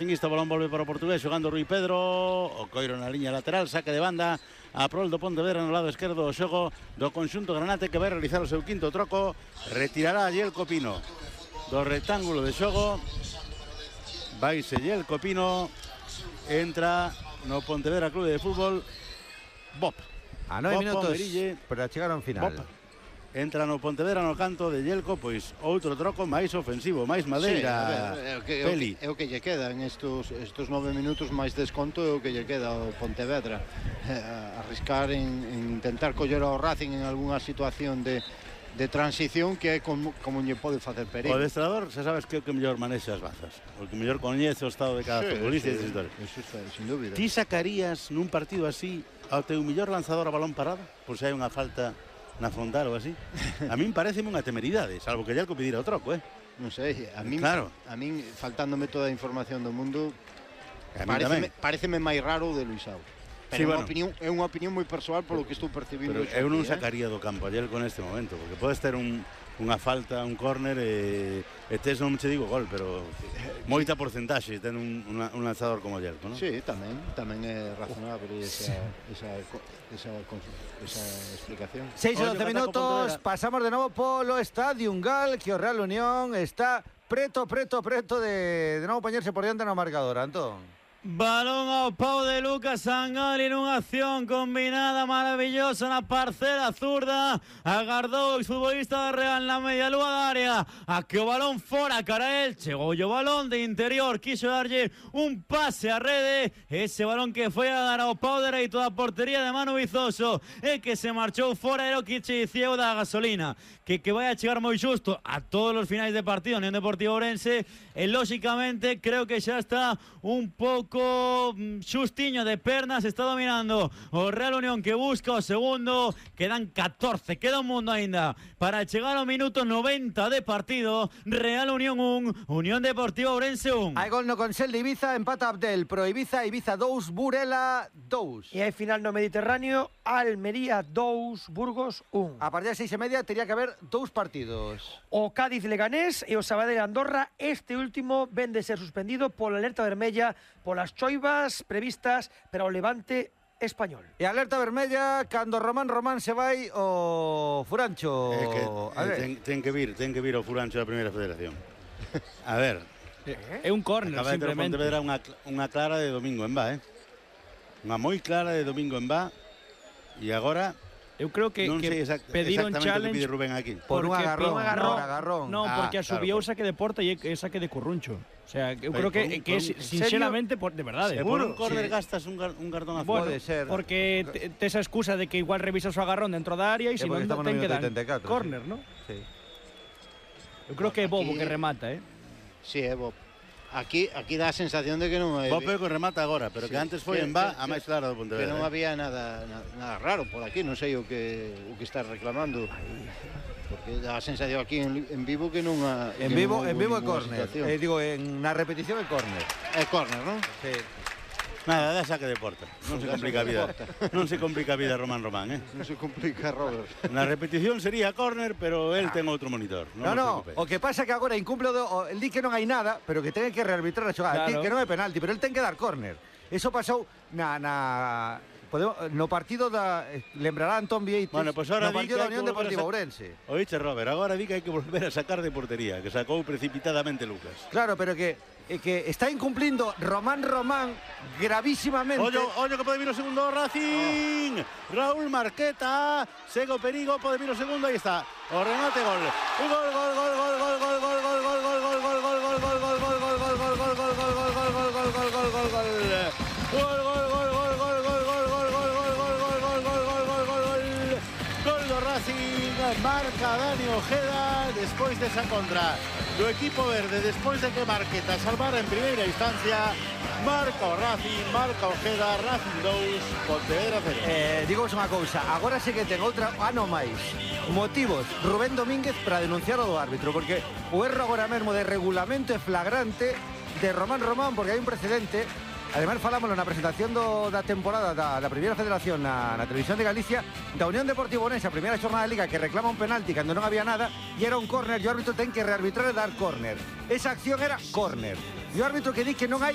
Este balón volve para o portugués, xogando Rui Pedro, o Coiro na liña lateral, saque de banda a prol do Pontevedra no lado esquerdo do xogo do conxunto granate, que vai realizar o seu quinto troco. Retirará a Yelko Pino do rectángulo de xogo, vaise Yelko Pino, entra no Pontevedra Clube de Fútbol Bob. A 9 minutos Merille, para chegar ao final. Bob. Entra no Pontevedra no canto de Yelko, pois outro troco máis ofensivo, máis madeira. Peli. É o que lle queda en estos 9 minutos, máis desconto é o que lle queda ao Pontevedra. Arriscar en intentar coller ao Racing en algunha situación de transición, que é como lle pode facer perigo. O adestrador, xa sabes que é o que mellor manexa as bazas, o que mellor coñece o estado de cada futbolista e esas historias. Eso está, sin dúbida. Ti sacarías nun partido así ao teu mellor lanzador a balón parado, por se hai unha falta na frontal ou así? A min pareceme unha temeridade, salvo que Yelko pedira o troco, Non sei, a min, claro. A min faltándome toda a información do mundo, pareceme máis raro o de Luisao. Pero sí, é unha opinión moi persoal polo que estou percibindo. Pero eu non sacaría do campo a Yelko neste momento, porque podes ter unha falta, un córner e tes, non che digo gol, pero moita porcentaxe ten un lanzador como Yelko, non? Sí, tamén é razonable esa explicación. 6 e 12 minutos, pasamos de novo polo Estadio Gal, que o Real Unión está preto de novo poñerse por diante no marcador, Antón. Balón ao pau de Lucas Angali nunha acción combinada maravillosa na parcela zurda. Agardou o futbolista da Real na media lúa da área a que o balón fora cara el. Chegou o balón de interior, quiso darlle un pase a rede. Ese balón que foi a dar ao pau dereito da portería de Manu Vizoso e que se marchou fora. Era o que che dicía o da gasolina, que vai a chegar moi xusto a todos os finais de partido Unión Deportiva Ourense. E lóxicamente creo que xa está un pouco xustiño de pernas. Está dominando o Real Unión, que busca o segundo. Quedan 14, queda un mundo aínda para chegar ao minuto 90 de partido. Real Unión 1, Unión Deportiva Ourense 1. Hai gol no Consell de Ibiza, empata Abdel pro Ibiza 2, Burela 2. E hai final no Mediterráneo, Almería 2, Burgos 1. A partir das 6:30 teria que haber 2 partidos. O Cádiz Leganés e o Sabadell Andorra. Este último ven de ser suspendido pola alerta vermella polas choivas previstas para o Levante español. E alerta vermella cando Román se vai o Furancho. Ten que vir o Furancho da Primeira Federación. A ver, é un córner, acaba de ter simplemente. Pontevedra unha clara de domingo en Ba, unha moi clara de domingo en Ba. E agora eu creo que pediron challenge que pide Rubén aquí. Por un agarrón. Non, porque asubiu saque de porta e saque de Curruncho. O sea, eu creo que sinceramente, de verdade. Se por un córner gastas un cartón azul. Pode ser. Porque tes a excusa de que igual revisas o agarrón dentro da área e se non ten que dar córner, non? Sí. Eu creo que é Bobo que remata, Sí, é Bob. Aquí dá a sensación de que non hai... Bob que remata agora, pero que antes foi en Ba a máis clara do Pontevedra. Que non había nada raro por aquí, non sei o que está reclamando. Porque dá a sensación aquí en vivo que non ha... En vivo é córner. Digo, na repetición é córner. É córner, non? Sí. Nada, dá saque de porta. Non se complica a vida. Non se complica a vida Román, Non se complica, Robert. Na repetición sería córner, pero el ten outro monitor. No, o que pasa é que agora incumple el di que non hai nada, pero que ten que rearbitrar a xogada. Claro. Que non é penalti, pero el ten que dar córner. Eso pasou no partido lembrará Antón Vieites, bueno, pues ahora no partido da Unión Deportiva Ourense. Oíche, Robert, agora di que hai que volver a sacar de portería, que sacou precipitadamente Lucas. Claro, pero que está incumplindo Román gravísimamente. Ollo que pode vir o segundo Racing. Raúl Marqueta, segue o perigo, pode vir o segundo, aí está. O remate, gol. Gol do Racing, marca Dani Ojeda despois desa contra do equipo verde, despois de que Marqueta salvara en primeira instancia. Marca o Racing, marca Ojeda, Racing 2, Pontevedra 0. Digamos unha cousa, agora sí que ten outra ano máis motivos Rubén Domínguez para denunciar o do árbitro, porque o erro agora mesmo de regulamento é flagrante de Román, porque hai un precedente. Ademais, falámoslo na presentación da temporada da Primeira Federación na Televisión de Galicia, da Unión Deportiva Ourense, a primeira xornada de Liga, que reclama un penalti cando non había nada, e era un córner, e o árbitro ten que rearbitrar e dar córner. Esa acción era córner. E o árbitro que di que non hai